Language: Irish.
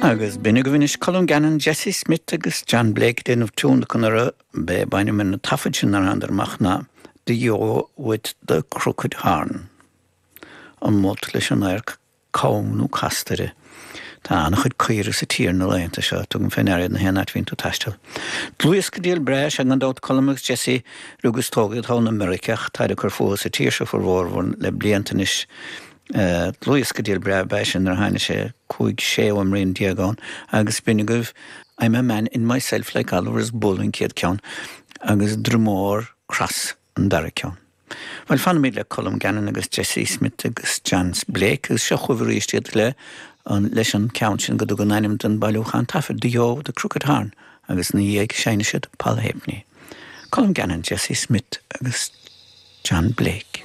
Agus b'in agaibh anois Colm Gannon, Jesse Smith agus John Blake ag déanamh tiún anuraidh. B'é ab ainm ar na taifid sin nár thánadar amach ná The Yo with the Crooked Horn. An molt leis an adharc cam nó casta uirthi. Tá an-chuid caoirigh sa tír na laethanta seo, tugaim fé ndeara iad na haon áit a bhíonn tú ag taisteal. Dlúthdhiosca diail breá is ea gan dabht Colm agus Jesse, rugadh is tógadh iad thall in Meiriceá ach táid ag cur fúthu sa tír seo formhór le blianta anois. Dlúthdhiosca diail breá ab ea sin nuair a tháinig sé, 15 sé fhuaimrian ann agus b'in agaibh I'm a Man in Myself Like Oliver's Bull an chéad ceann agus Dromore Cross an dara ceann. Bhuel, fanfaimid le Colm Gannon agus Jesse Smith agus John Blake agus seo chugaibh arís iad le an leis an ceann sin go dtugann ainm don bailiúchán taifead, The Yo with the Crooked Horn agus ina dhiaidh seinnfidh siad Poll Halfpenny. Colm Gannon, Jesse Smith agus John Blake.